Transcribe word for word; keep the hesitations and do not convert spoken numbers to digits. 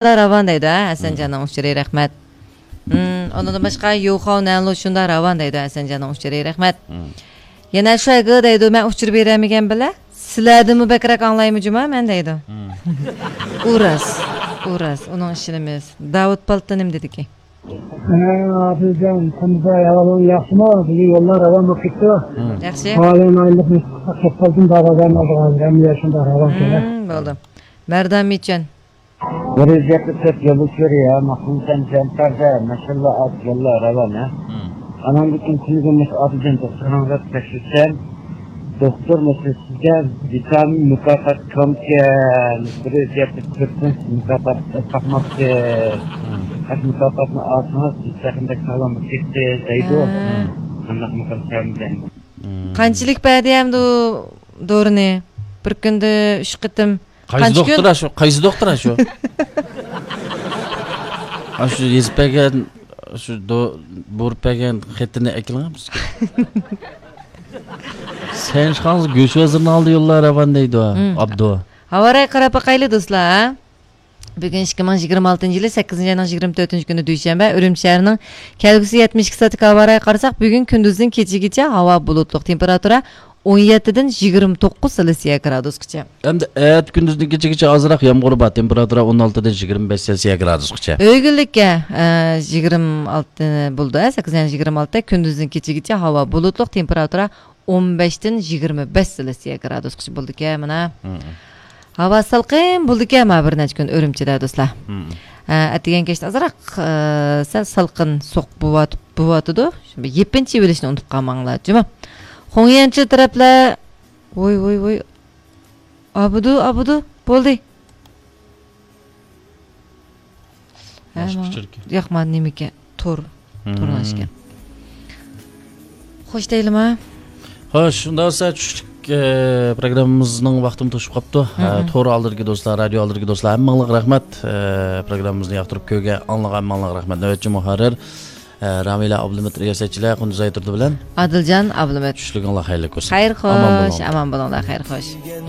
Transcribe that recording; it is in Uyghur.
راۋان دەيدۇ، ھە، ھەسەنجاننىڭ ئۇچۇرى، رەھمەت. ھىم، ئۇنىڭدىن باشقا يۇخاۋ نەنلۇ شۇنداق راۋان دەيدۇ، ھەسەنجاننىڭ ئۇچۇرى، رەھمەت. ھىم. يەنە شۇ ئەگە دەيدۇ، مەن ئۇچۇر بېرەلمىگەن بىلە، سىلەردىنمۇ بەكرەك ئاڭلايمۇ جۇما مەن دەيدۇ. ھىم. ئۇ راست، ئۇ راست، ئۇنىڭ ئىشىنىمىز. داۋۇت پالتىنىم دېدىكى. ھە، ئادىلجان، قانداق ئەھۋالىڭ، ياخشىمۇ؟ بۈگۈن يوللار راۋان بولۇپ كېتىپتۇ. ھىم. ياخشى. ھالى ئايلىق كەپ قالدىم، بارغاندا ئادىغان، ھەممە يەر شۇنداق راۋان كېلە. ھىم، بولدى. مەردان مىچەن. بىر يۈز يەتمىش تۆت يولدىشلىرى يا، ماقۇلسەن جەنتەردە، ماشاللا ئات يوللار راۋان، ھە. ھىم. ئاناڭدىن كېيىن كۈنىگە مۇشۇ ئادىلجان دوختۇرنىڭ دەپ تەكشۈرتسەم، دوختۇر مۇشۇ سىزگە ۋىتامىن مۇكاپات كۆمكەن، بىر يۈز يەتمىش تۆت مۇكاپات تاقماپتۇ. ھىم. ئەگەر مۇكاپاتنى ئالسىڭىز، سىز يېقىندەك ساغلام بولۇپ كېتىسى دەيدۇ. ھە. ھىم. قانداقمۇ قىلسام دەيمەن. ھىم. قانچىلىك بەردى ئەمدى ئۇ دورىنى؟ بىر كۈندە ئۈچ قېتىم. قايسى قانچە كۈن؟ دوختۇر شۇ؟ قايسى دوختۇر شۇ؟ ئاشۇ يېزىپ بەرگەن، شۇ دو-، بۇيرۇپ بەرگەن خېتىنى ئەكېلىڭ بىزگە. سەن چىقاڭ، گۆش ۋەزىرىنىڭ ئالدى يوللار راۋان دەيدۇ، ھىم. ئابدۇ. ھاۋا رايى قاراپ باقايلى، دوستلار. بۈگۈن ئىككى مىڭ يىگىرمە ئالتىنچى يىلى سەككىزىنچى ئاينىڭ يىگىرمە تۆتىنچى كۈنى، دۈشەنبە. ئۈرۈمچى شەھىرىنىڭ كەلگۈسى يەتمىش ئىككى سائەتتىكى ھاۋا رايىغا قارىساق، بۈگۈن كۈندۈزدىن كېچىگىچە ھاۋا بۇلۇتلۇق، تېمپېراتۇرا ئون يەتتىدىن يىگىرمە توققۇز سېلسىيە گرادۇسقىچە. ئەمدى ئەتە كۈندۈزدىن كېچىگىچە ئازراق يامغۇر بار، تېمپېراتۇرا ئون ئالتىدىن يىگىرمە بەش سېلسىيە گرادۇسقىچە. ئۆگۈنلۈككە، ئە، يىگىرمە ئالتە بولىدۇ، ئە، سەككىزىنچى يىگىرمە ئالتە، كۈندۈزدىن كېچىگىچە ھاۋا بۇلۇتلۇق، تېمپېراتۇرا ئون بەشتىن يىگىرمە بەش سېلسىيە گرادۇسقىچە بولىدىكەن، مانا. ھىم. ھاۋا سالقىن بولىدىكەن، مانا بىر نەچچە كۈن ئۈرۈمچىدە، دوستلار. ھىم. ئە، ئەتىگەن كەچتە ئازراق، ئە، سەل سالقىن سوغۇق بولۇۋات-، بولۇۋاتىدۇ. شۇ بىر يېپىنچا ئېلىشنى ئۇنتۇپ قالماڭلار، جۇمۇ. خۇڭيەنچى تەرەپلەر، ۋوي، ۋوي، ۋوي. ئابىدۇ، ئابىدۇ، بولدى. ھە، باشقا ماڭا ئۇچۇركەن. ياق، مانا نېمىكەن؟ تور. ھىم. تورنىڭ ئىشىكى. خوش دەيلىما؟ خوش، شۇنداق بولسا چۈشلۈك، ئە، پروگراممىمىزنىڭ ۋاقتىمۇ توشۇپ قاپتۇ. ئە، ھىم. تور ئالدىدىكى دوستلار، رادىيو ئالدىدىكى دوستلار، ھەممىڭلارغا رەھمەت. ئە، پروگراممىمىزنى ياقتۇرۇپ كۆرگەن، ئاڭلىغان ھەممىڭلارغا رەھمەت. نۆۋەتچى مۇھەررىر، ئە، رامىلە ئابلىمىت، رىياسەتچىلەر قۇندۇز ئايتۇردى بىلەن ئادىلجان ئابلىمىت. چۈشلۈكۈڭلار خەيرلىك بولسۇن. خەير ئامان خوش، بولۇڭلار. ئامان بولۇڭلار، خەير خوش.